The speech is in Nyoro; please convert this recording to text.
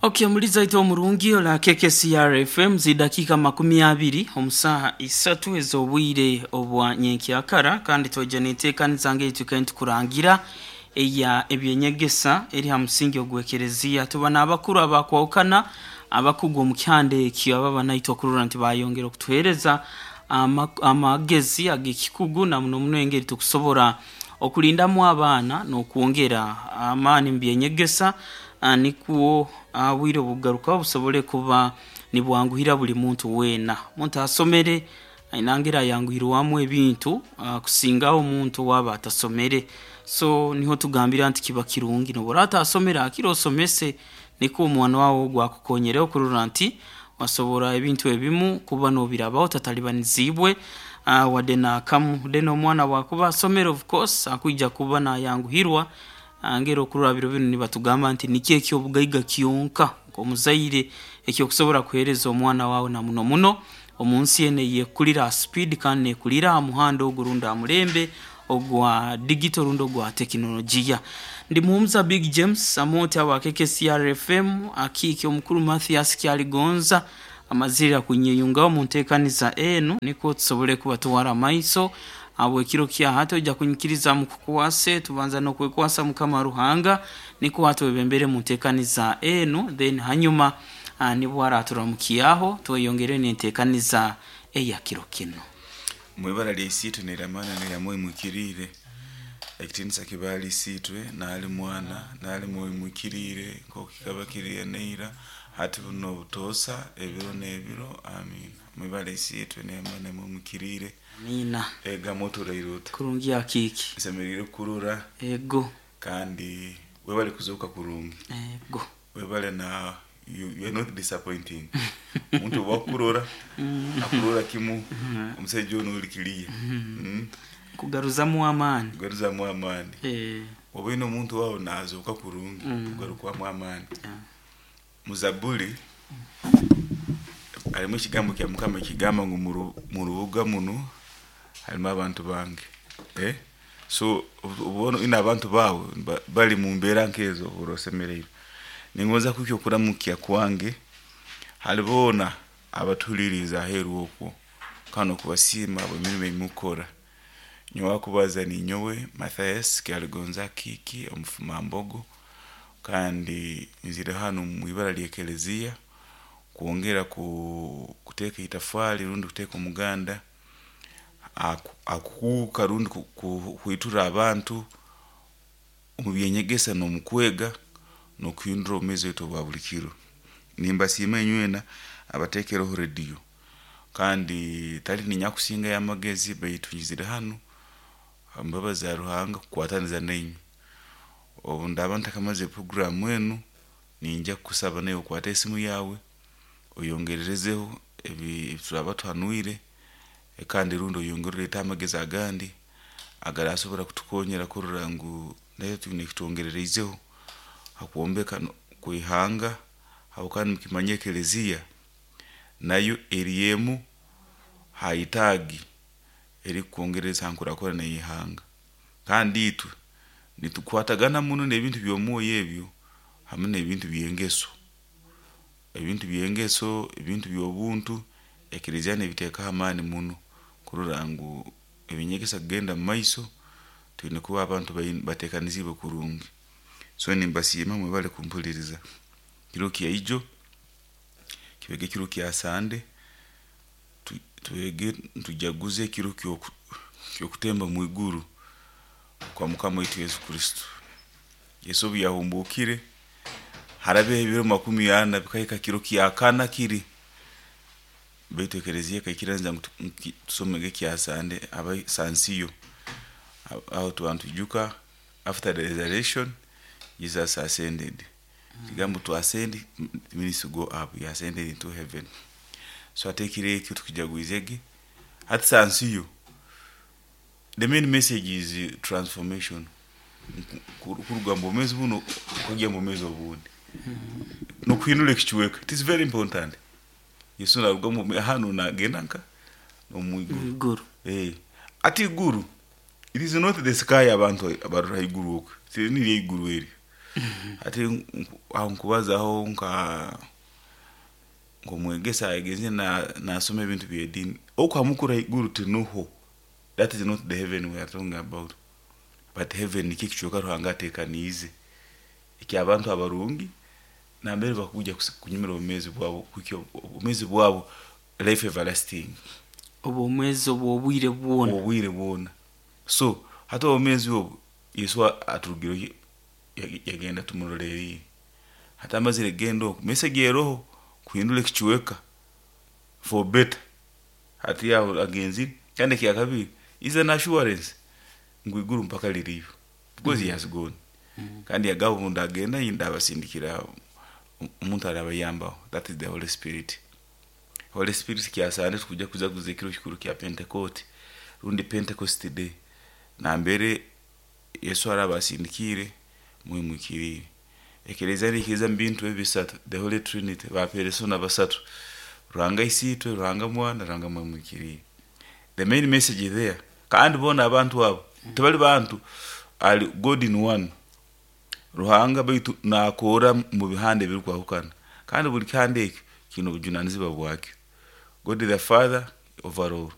Okay, muliza ito omurungi ola KKCR FM zidakika 20 omusaha 3 ez'obwire obwa nyenkyakara, kandi twaija n'enteekaniza ng'eitu tukurangira eya ebyenyegesa eri ha musingi ogw'ekereziya. Tuba n'abakuru abakwahukana abakugu omu kihanda ekyo ababa naitwe okurora nti bayongera okutuheereza amagezi ag'ekikugu na muno muno engeri tukusobora okulindamu abaana n'okwongera amaani mu byenyegesa, nikwo obwire obukugarukaho busobole kuba nibwanguhira buli muntu weena. Omuntu asomere aine ngeri ayanguhirwamu ebintu kusingaho omuntu owaaba atasomere. So niho tugambira nti kiba kirungi nobu oraaba otasomere hakire osomese nikwo omwana waawe ogu akukonyereho kurora nti wasobora ebintu ebimu kuba nobirabaho otatalibaniziibwe wadde n'akamu. Then omwana bwakuba asomere, of course akwija kuba nayanguhirwa ngeri okurora biro binu nibatugamba nti nikyo eky'obugaiga kyonka nk'omuzaire ekyokusobora kuheereza omwana waawe, na muno muno omu nsi enu eyekulira ha speed kandi nekulira ha muhanda ogu rundi ha mulembe ogwa digital rundi ogwa tekinologiya. Ndi Muhumuza Big James Amooti aba KKCR FM, akiiki omukuru Mathias Kyaligonza amazirira kunyeyungaho omu nteekaniza enu nikwo tusobole kuba tuwara amaiso habw'ekiro kya hati. Oija kunyikiriza mukukwase, tubanza n'okwekwasa Mukama Ruhanga nikwo atwebembere mu nteekaniza enu, then hanyuma nibwo araturamukiaho tweyongere n'enteekaniza eya kiro kinu. Mwibara lya Isiitwe n'erya Mwana n'erya Mwoyo Muhikiriire, ekitiinisa kibe ahali Isiitwe n'ahali Mwana n'ahali Mwoyo Muhikiriire, nk'oku kikaba kiri neira, hati buno obutoosa, ebiro n'ebiro. Amiina. Mwibara Isiitwe n'erya Mwana n'erya Mwoyo Muhikiriire. Amiina. Egamba oturaire ota? Kurungi akiiki. Nsemeriire kukurora. Ego. Kandi webale kuzooka kurungi. Ego. Webale na you are not disappointing. Omuntu obu akukurora, akurora kimu omusaija onu oli kiriya. Kugaruzamu amaani. Kugaruzamu amaani. Oba oine omuntu wawe nazooka kurungi, kugarukwamu amaani. Muzabuli harimu ekigambo kya Mukama ekigamba ngu mu rubuga munu harimu abantu bange. So obu oine abantu baawe bari mu mbeera nk'ezo ohurra osemeriirwe. Ningonza kuhikya okuramukya kwange hali boona abatuhuliriize aheeru okwo kandi n'okubasiima habw'emirimo ei mukukora. Nyowe akubaza ninyowe Mathias Kyaligonza Akiiki Omufumambogo, kandi nzire hanu mu ibara ly'Ekereziya kwongera kuteeka itafaali rundi kuteeka omuganda akukuuka rundi kuhwitura abantu omu by'enyegesa n'omu kwega n'okuhindura obwomeezi bwaitu obwa buli kiro. Nimbasiima inywena abateekereho rediyo, kandi tali niinye akusingayo amagezi, baitu nyizire hanu ha mbabazi za Ruhanga kukwataniza nainywe. Obu ndaaba ntakamaze puroguraamu enu, ninyija kukusaba naiwe okwate esimu yaawe oyongererezeho ebi turaaba tuhanwire, kandi rundi oyongere oleete amagezi agandi agarasobora kutukonyera kurora ngu naitwe twine ekitwongerereizeho ha kwombeka kw'ihanga, habwokuba nimukimanya Ekereziya nayo eri emu ha itaagi erikukwongereza ha nkurakurana y'ihanga. Kandi itwe nitukwatagana muno n'ebintu by'omwoyo ebyo hamu n'ebintu by'engeso. Ebintu by'engeso, ebintu by'obuntu, Ekereziya n'ebiteekaho amaani muno kurora ngu eby'enyegesa kugenda mumaiso, twine kuba abantu bateekaniziibwe kurungi. So nimbasiima mwebale kumpuliriza. Kiro kya ijo kibege ekiro kya Sande, twege tujaguze ekiro ky'okutemba mwiguru kwa Mukama waitu Yesu Kristo. Yesu obu yahumbuukire, harabeho ebiro 40 bikahika kiro kya kana kiri, baitu Ekereziya ekaikiririza ngu tusomege ekya Sande sansiyo. Aho tuba nitwijuka after the resurrection Jesus ascended. Ekigambo to ascend means to go up, he ascended into heaven. So hati ekiro ekyo tukijagwizege. Hati sansiyo, the main message is transformation. Kuruga mu bwomeezi bunu okagya mu bwomeezi obundi. N'okuhindura ekicweka. It is very important. Yesu naruga hanu nagenda nka omu iguru. Hati iguru, it is not the sky abantu abarora haiguru okwo, tiri niryo iguru eryo. Hati aho nkubazaho nka ng'omwegesa agenzire nasoma ebintu by'ediini oku hamukura haiguru tinuho. That is not the heaven we are talking about, but heaven nikyo ekicweka Ruhanga ateekaniize eky'abantu abarungi nambere bakuja kunyumira obwomeezi bwabo kuhikya obwomeezi bwabo, life everlasting. Obwomwezi obw'obwire bwona. Obwire bwona. So hati obwomeezi obu Yesu aturugireho, yagenda tumuroleriire. Hati amazire kugenda oku, message eroho kuhindura ekicweka for better. Hati aho agenzire. Kandi ekyakabiri is an assurance ngu iguru mpaka liriyo because he has gone. Kandi yagamba, obu ndagenda ndabasindikira omuntu arabayambaho, that is the Holy Spirit. Holy Spirit kyasande tukuja kujaguza ekiro kikuru kya Pentecote rundi Pentecost day, nambere Yesu araba asindikiire Mwoyo Muhikiriire. Ekereziya neikiriza mu bintu ebi bisatu, the Holy Trinity, ba persona basatu: Ruhanga Isiitwe, Ruhanga Mwana, Ruhanga Mwoyo Muhikiriire. The main message there, kandi boona abantu abo tibali bantu, ali God in one Ruhanga, baitu nakoora mu bihanda ebirukwahukana, kandi buli kihanda ekyo kiine obujunanizibwa bwakyo. God the Father overall.